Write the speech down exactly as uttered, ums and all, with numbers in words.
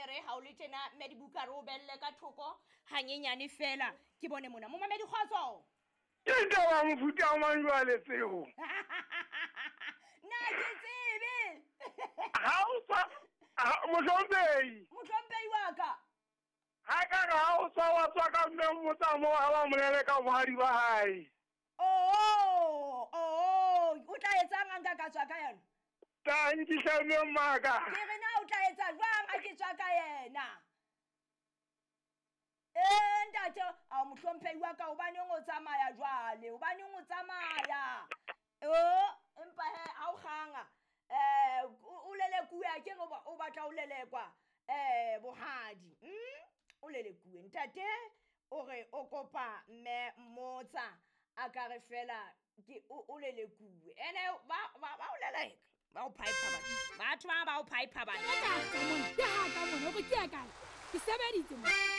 E re ha o le tjena mme dibuka re o belle ka thoko hanyenyane fela ke bone mona. Momamedi kgotso. Ke taba mofuta mang jwale tseo? Nna ke tsebe. Ha o tswa mohlomphehi. Mohlomphehi wa ka. Ha ka re ha o tswa wa tswa ka mme mmotsa moo ha ba molele ka bohadi ba hae. Oh, oh, o tla etsang ha nka ka tswa ka yona? Tla nkisa mme mmaka. Ke re na o tla etsa jwang ha ke tswa ka yena? Ee ntate, a mohlomphehi wa ka, hobaneng o tsamaya jwale? Hobaneng o tsamaya? Oh, empa he ha o kganga. Eh, o lelekuwe a ke re o batla o lelekwa eh bohadi. Mm? O lelekuwe. Ntate o re o kopa mme mmotsa a ka re fela ke o lelekuwe. Ene ba ba ba o leleka. Ba o pipe batho. Batho ba ba o pipe batho. Ke ha ka mona, ke ya kae? Ke sebeditse mo.